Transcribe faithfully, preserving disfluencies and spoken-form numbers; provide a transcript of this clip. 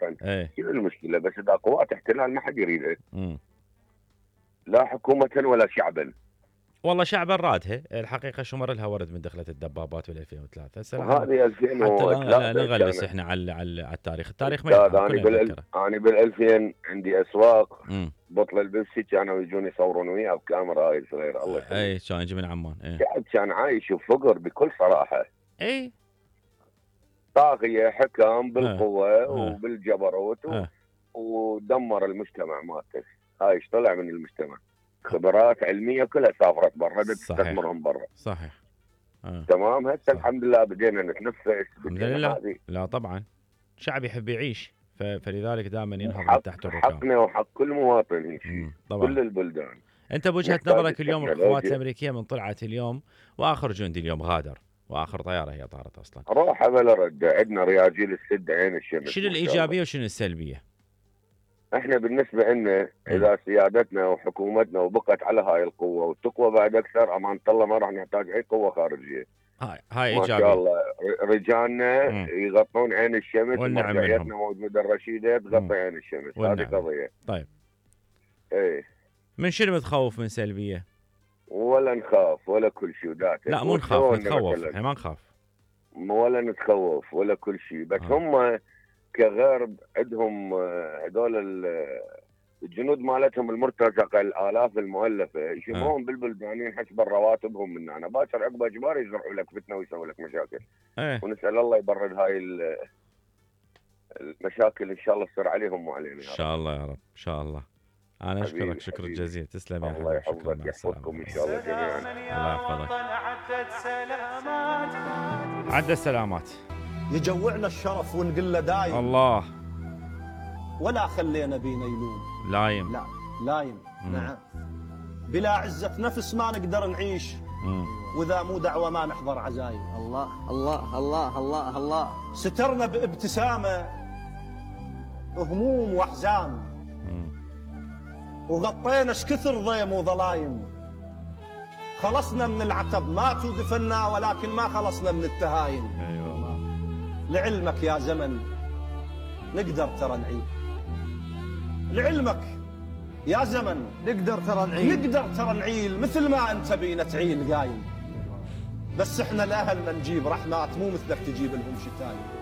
المواطن. ايه شنو المشكله؟ بس اذا قوات احتلال ما حد يريدها، امم لا حكومه ولا شعبا. والله شعبا رادها الحقيقه، شمر لها ورد من دخلت الدبابات بال ألفين وثلاثة. هسه وهذه حتى لا, لا ألفين وثلاثة نغلس كانت. احنا على على على التاريخ، التاريخ ما استاذ يرحم انا كلنا بال نتذكره. انا بالألفين عندي اسواق امم بطل البيبسي كانوا يجون يصورون وياه بكاميرا هاي صغيره الله يخليك. اي كان يجي من عمان. ايه الشعب كان عايش بفقر بكل صراحه. اي طاغيه حكم بالقوه اه وبالجبروت و... اه ودمر المجتمع مالته. هاي ايش طلع من المجتمع؟ خبرات علميه كلها سافرت برا، تستثمرهم برا. صحيح. آه. تمام. هسه صح. الحمد لله بدينا نتنفس. الحمد لله. لا طبعا شعب يحب يعيش، ف... فلذلك دائما ينهض من تحت الركام. حقنا وحق كل مواطن يمشي طبعا. كل البلدان. انت بوجهه نظرك اليوم القوات الامريكيه من طلعت اليوم واخر جندي اليوم غادر واخر طياره هي طارت اصلا، روح بلا رد، عندنا رياجيل السد عين الشمس. شنو الايجابيه وشنو السلبيه؟ احنا بالنسبه لنا اذا سيادتنا وحكومتنا وبقت على هاي القوه وتقوى بعد اكثر، امان الله ما راح نحتاج اي قوه خارجيه. هاي هاي ما ايجابيه. شاء الله رجالنا مم. يغطون عين الشمس، ومرجعيتنا موجوده الرشيده تغطي عين الشمس. هذه قضيه. طيب ايه من شنو متخوف من سلبيه؟ ولا نخاف ولا كل شيء ذاته. لا مو نخاف، نتخوف. احنا ما نخاف ولا نتخوف ولا كل شيء، بس آه. هم كغرب عندهم هذول الجنود مالتهم المرتزقه الالاف المؤلفه يشوفوهم آه. بالبلدانين حسب رواتبهم من هنا، باكر عقب اجبار يزرعوا لك فتنه ويسوي لك مشاكل. آه. ونسال الله يبرد هاي المشاكل ان شاء الله تصير عليهم وعلينا. ان شاء الله يا رب، ان شاء الله. انا اشكرك شكر جزيل. تسلم يا حبيبي. الله يحفظك يحفظكم ان شاء الله جميعا. الله يحفظك. عدى السلامات. يجوعنا الشرف ونقول له دايم الله، ولا خلينا بينا يلوم. لايم. لا لايم. مم. نعم. بلا عزة نفس ما نقدر نعيش. مم. واذا مو دعوة ما نحضر عزايم. الله الله الله الله الله. سترنا بابتسامة هموم واحزان، وغطينا اش كثر ضيم وظلايم. خلصنا من العتب ما توقفنا، ولكن ما خلصنا من التهاين. اي والله. لعلمك يا زمن نقدر ترى نعيد. لعلمك يا زمن نقدر ترى نعيل، نقدر ترى نعيل مثل ما انت بينا تعيل قايم. بس احنا الاهل ما نجيب رحمات، مو مثلك تجيب لهم شتايم.